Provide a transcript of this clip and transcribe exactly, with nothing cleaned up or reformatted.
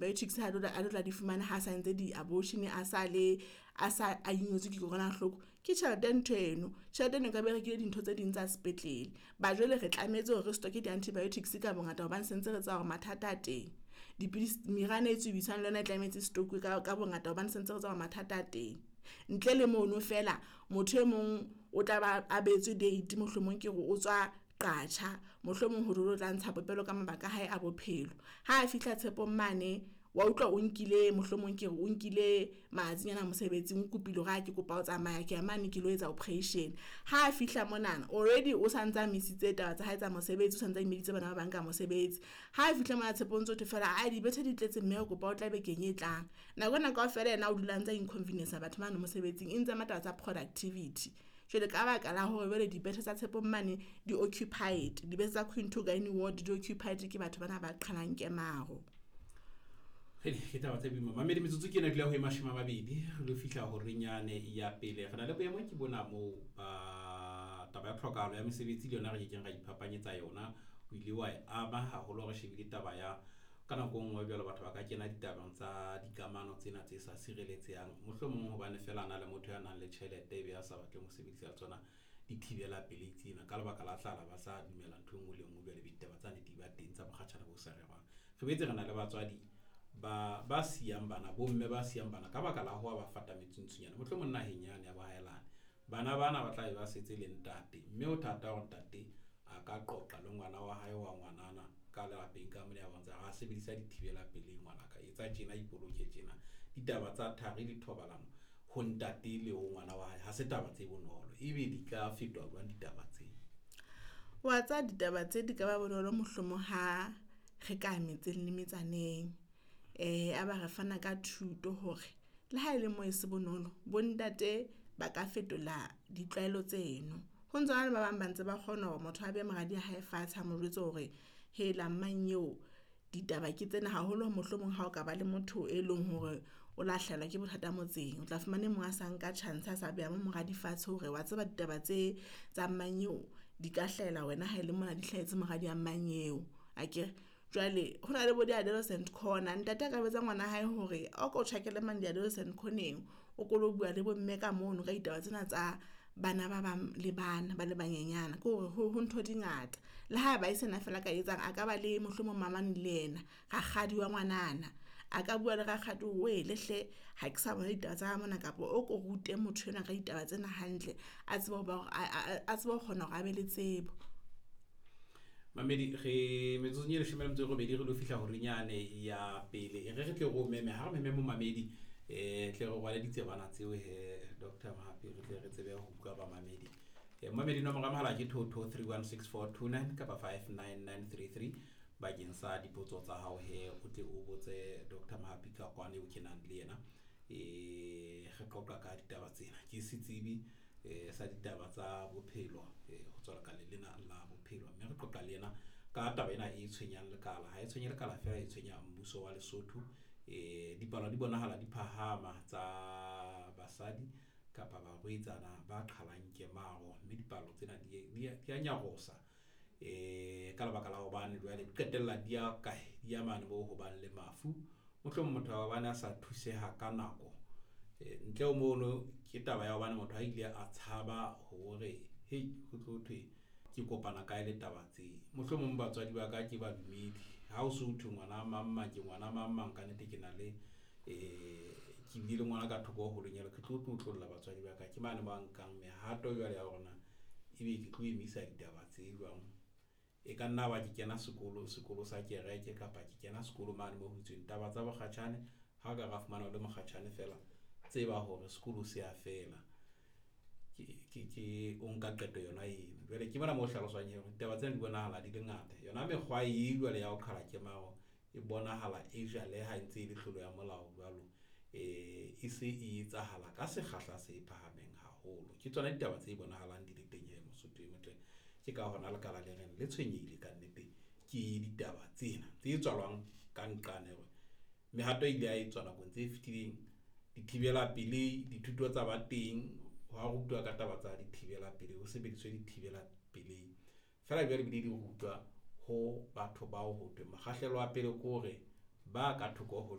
Antibiotics ha a tla di fumana ha sa entse di-abortion, a sa le a sa a ingwetswe ke kokwanahloko ke tjhelete ntho eno. Tjhelete eno nka be rekile dintho tse ding tsa sepetlele. Ba jwale re tlametse hore re stock di-antibiotics ka bongata hobane sentse re tseba hore mathata a teng. Dipidisi, meriana e tsubisang le yona e tlametse stock-uwe ka ka bongata hobane sentse re tseba hore mathata a teng. Ntle le mono fela motho e mong o tla ba a behetswe date, mohlomong ke re o tswa Qacha mohlomong ho re o tla ntsha popelo ka mabaka a hae a bophelo. Ha fihla Tshepong mane wa utlwa o nkile mohlomong ke re o nkile malatsinyana mosebetsing, o kopile hore ke kopa ho tsamaya ke ya mane ke lo etsa operation. Ha fihla monana already o santsa misitse taba tsa hae tsa mosebetsi, o santsa imeditse bana ba bang ka mosebetsi. Ha fihla mona Tshepo o ntso thwe fela aa dibethe di tletse mme re kopa o tla bekeng e tlang. Nako ena kaofela yena o dula a ntsa inconvenience batho bano mosebetsing e ntse ama taba tsa productivity. Jwale ka baka la hore jwale dibethe tsa Tshepong mane di occupied, dibethe tsa Queen two Gynae ward di occupied ke batho bana ba qhalang kemaro. Ke taba tse boima. Mamedi, metsotso ke ena dula ho e mashome a mabedi re lo fihla horeng yane ya pele. Re na le boemo ke bona moo ba taba ya tlhokahalo ya mesebetsi le yona re kekeng ra iphapanyetsa yona. O ile wa e ama haholo re shebile taba ya ka nako e nngwe jwale batho ba ka kena ditabeng tsa dikamano tsena tse sa sireletsehang, mohlomong hobane fela a na le motho ya nang le tjhelete ebe a sa batleng ho sebedisa tsona dithibela pelei tsena ka lebaka la tlala, ba sa dumela ntho e nngwe le e nngwe. Jwale be ditaba tsane di ba teng tsa mokgatjhane bo sa rerwang. Re boetse re na le batswadi ba ba siyang bana, bomme ba siyang bana ka baka la ho ba fata metsuntsunyana mohlomong naheng yane ya bohaelane. Bana bana ba tla be ba setse le ntate, mme ho thata hore ntate a ka qoqa le ngwana wa hae wa ngwanana ka lapeng ka mona ya bontsha ha sebedisa dithibela pelei ngwanaka, etsa tjena, ipoloke tjena. Ditaba tsa thari le thobalano ho ntate le ho ngwana wa hae ha se taba tse bonolo, ebe di ka fetoha jwang ditaba tse? Wa tseba ditaba tse di ka ba bonolo mohlomong ha re ka metseng le metsaneng. Eh a ba re fana ka thuto hore le ha ele moo e se bonolo bo ntate ba ka fetola ditlwaelo tseno. Ho ntsona le ba bang ba ntse ba kgona hore motho a behe moradi ya hae fatshe a mo jwetse hore hela mmanyeo ditaba ke tsena haholo mohlomong ha o ka ba le motho e leng hore o la hlahelwa ke bothata motseng. O tla fumana e mong a sa nka chance a sa beha mo moradi fatshe hore wa tseba ditaba tse tsa mmanyeo di ka hlahela wena ha ele mona di hlahetse moradi ya mmanyeo akere. Jwale ho na le bo di-adolescent corner. Ntate a ka jwetsa ngwana hae hore o ko tjhakele mane di-adolescent corner-eng o ko lo bua le bomme ka mono ka ditaba tsena tsa bana ba bang le bana ba le banyenyana. Ke hore ho ho ntho di ngata. Le ha ba e sena fela ka etsang a ka ba le mohlomong mamane le yena, rakgadi wa ngwanana. A ka bua le rakgadi wele hle ha ke sa bona ditaba tsa mona kapa o ko rute motho enwa ka ditaba tsena hantle, a tsebe ho ba a tsebe ho kgona hore a be le tsebo. Mamedi, re metsotsong e leshome le metso e robedi re lo fihla horeng yane ya pele. E re re tle re o meme, ha re meme momamedi eh tle re rwale ditsebana tseo he Doctor Mohapi, re tle re tsebe ho utlwa bamamedi. Eh momamedi nomoro ya mohala ke two two three one six four two nine kapa five nine nine three three bakeng sa dipotso tsa hao he o tle o botse Doctor Mohapi ka kwane o kenang le yena. Eh re qoqa ka ditaba tsena. Ke setsebi eh sa ditaba tsa bophelo eh ho tswa lekaleng lena la bophelo, mme re qoqa le yena ka taba ena e tshwenyang lekala. Ha e tshwenye lekala fela, e tshwenya mmuso wa Lesotho. Eh dipalo di bonahala di phahama tsa basadi kapa barwetsana ba qhalang kemaro, mme dipalo tsena di di a nyarosa eh ka lebaka la hobane jwale di qetella di ya kae, di ya mane moo ho bang le mafu. Mohlomong motho wa hobane a sa thuseha ka nako. Ntle ho mono ke taba ya hobane motho a ile a tshaba hore hei ho tlo thwe ke kopana kae le taba tse. Mohlomong batswadi ba ka ke badumedi, ha o so thwe ngwana mang mang ke ngwana mang mang ka nnete ke na le eh ke bile le ngwana ka thoko ho lenyalo, ke tlo tlotlolla batswadi ba ka. Ke mane ba nkang mehato jwale ya hore na ebe ke tlo emisa ditaba tse jwang. E ka nna ba ke kena sekolo, sekolo sa kereke kapa ke kena sekolo mane moo ho itsweng taba tsa bokgatjhane. Ha o ka ra fumana o le mokgatjhane fela, tseba hore sekolo se a fela. Ke ke ke o nka qeto yona eno. Jwale ke mona mo hlaloswang hore ditaba tsena di bonahala di le ngata. Yona mekgwa e jwale ya ho qhala kemaro e bonahala e jaleha e ntse e le tlolo ya molao jwalo. Eh e se e etsahala ka sekgahla se phahameng haholo. Ke tsona ditaba tse bonahalang di le teng he Mosotho e motle. Ke ka hona lekala le reng le tshwenyehile ka nnete ke ditaba tsena tse tswalwang ka nqane hore mehato e ile ya etswa nakong tse fetileng. Dithibela pelei, dithuto tsa ba teng, hwa rutwa ka taba tsa dithibela pelei, ho sebediswe dithibela pelei. Feela jwale ebile di rutwa ho batho bao ho thweng mokgahlelo wa pele ke hore Ba ka thoko ho